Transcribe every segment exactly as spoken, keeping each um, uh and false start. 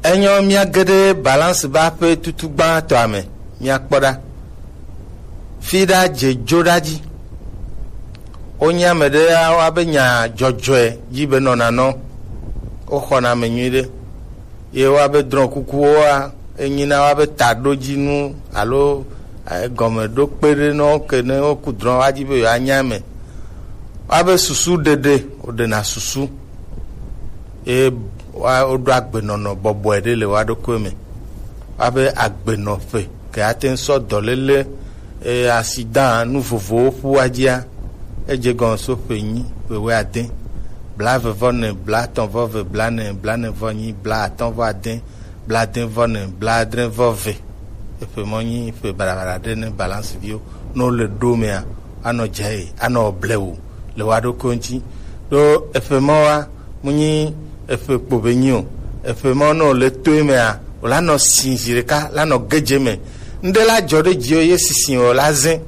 Enyo, míage ɖe Balance ba ƒe tutu gbãtɔa me. Míakpɔ ɖa. Fi ɖa dze jo ɖa dzi. Wonye ame ɖe woabe nya dzɔdzɔe dzi be nɔna nɔ. Woxɔna ame nyui ɖe. Ye woabe drɔ̃ kukuwoa, enyina woabe taɖodzinu alo, eh, gɔmeɖokpe ɖe nɔ ke ne woku drɔ̃ woa dzi be yewoanya eme. Woabe susu ɖeɖe, woɖena susu. Ye woa-, woɖo agbenɔnɔ bɔbɔe ɖe le woa ɖokui me. Woabe agbenɔƒe ke ate ŋu sɔ dɔléle, eh, accident, nu vovovowo ƒu woa dzia, edze gɔme so ƒe enyi, ƒe wuiade, blaeve vɔ ene, blaetɔ̃ vɔ eve, blaene, blaene vɔ enyi, blaatɔ̃ vɔ ade, blaade vɔ ene, blaadre vɔ eve. Eƒe mɔ nyi ƒe baɖabaɖa ɖe ne Balance viwo. Ne wole ɖo mea, anɔ dzae, anɔ blewu le woa ɖokuiwo ŋuti. Ɖo eƒe mɔ wa, mu nyi eƒe kpo be nyi o. Eƒe mɔ ne wòle toe mea, wòla nɔ si zi ɖeka, la nɔ gedze me. Ŋɖe la dzɔ ɖe dziwò ye sisi wò la zẽ.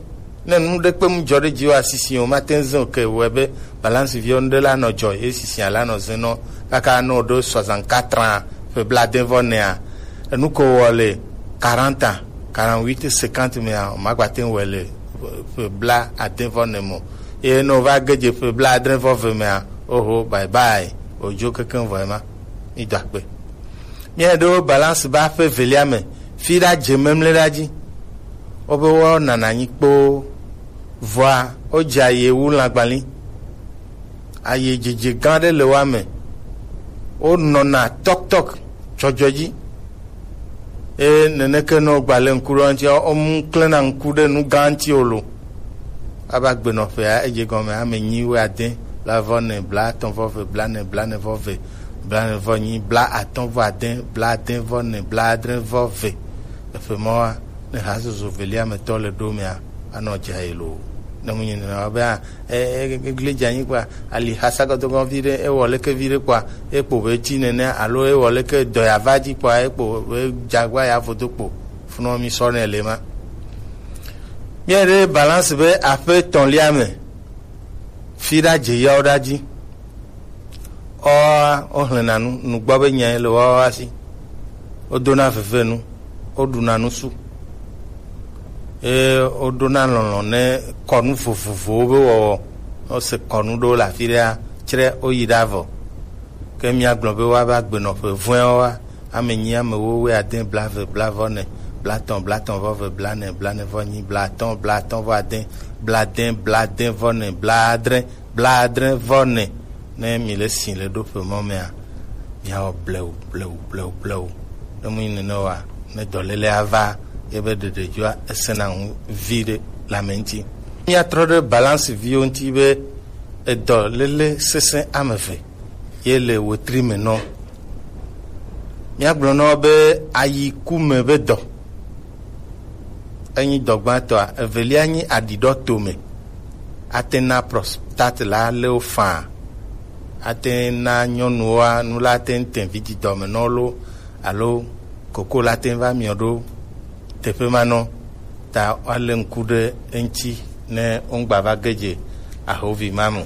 Ne nu ɖe kpe mu dzɔ ɖe dziwò asisi wò mate ŋu zẽ o ke wɔe be Balance viwo ŋɖe la nɔ dzɔ ye sisia la nɔ zẽ nɔ kaka ne wòɖo soixante-quatre ans, ƒe blaade vɔ enea. Enu ko wɔ le quarante ans, quarante-huit, cinquante mea, o magbate ŋu wɔe le ƒe blaade vɔ ene me o. Eye ne wòva ge dze ƒe blaadre vɔ eve mea, oho, bye bye, wòdzo kekeŋ vɔ ema. Mído akpe. Míaɖo Balance ba ƒe evelia me, fi ɖa dze memle ɖa dzi. Wobe woanana anyi kpoo, vɔa wodze aye wu lãgbali. Aye dzedze gã ɖe le woa me. Wonɔna tɔktɔk dzɔdzɔe dzi. Eye neneke ne wogba le ŋku ɖe wo ŋuti, womu klẽna ŋku ɖe nu gã ŋuti o lo. Aba gbenɔƒea, edze gɔme ame enyi wuiade, blaeve vɔ ene, blaetɔ̃ vɔ eve, blaene, blaene vɔ eve, blaene vɔ enyi, blaatɔ̃ vɔ ade, blaade vɔ ene, blaadre vɔ eve. Eƒe mɔa, ne hazozo velia me tɔ le ɖo mea, anɔ dza ye lo. Ne mu nyi nena be, a, e, e, e, gli dze anyi kpɔa, ali hasa gɔdɔgɔ vi ɖe, ewɔ leke vi ɖe kpɔa, ekpo be tsi nene, alo ewɔ leke dɔ ya va dzi kpɔa, ekpo be dzagba ya vodo kpo. Funɔ mi sɔ ne le ma. Míaɖe Balance be aƒe etɔ̃lia me, fi ɖa dze yawo ɖa dzi. Ɔa, wohlẽna nu, nugbɔ be nyae le woawo asi. Wodona vevenu, woɖuna nusu. Eye woɖona lɔlɔ̃ ne kɔnu vovovowo be wɔwɔ. Wose kɔnu ɖewo le afi ɖea, tsrɛ woyi ɖa vɔ. Ke míagblɔ be woava gbenɔƒe vɔ̃ewo wa, ame enyi, ame ewo, wuiade, blaeve, blaeve vɔ ene, blaetɔ̃, blaetɔ̃ vɔ eve, blaene, blaene vɔ enyi, blaatɔ̃, blaatɔ̃ vɔ ade, blaade, blaade vɔ ene, blaadre, blaadre vɔ ene. Ne mi le si le ɖo ƒe mɔ mea, miawɔ blewu, blewu, blewu, blewu. Ne mu nyi nene oa, ne dɔlélea va, ebe ɖeɖedzoa esena ŋu vi ɖe le ame ŋuti. Míatrɔ ɖe Balance viwo ŋuti be edɔléle sesẽ ame eve ye le wetri me nɔ. Míagblɔ nɔ be ayi ku me be dɔ. Enyi dɔ gbãtɔa, evelia nyi aɖiɖɔ tome. Ate na prostate la le wo faa. Ate na nyɔnuwoa, nu la te ŋu te vi didɔ me nɔ lo, alo koko la te ŋu va miɔ ɖo teƒe ma nɔ. Ta woalé ŋku ɖe eŋuti ne wogba va ge dze ahovi ma me.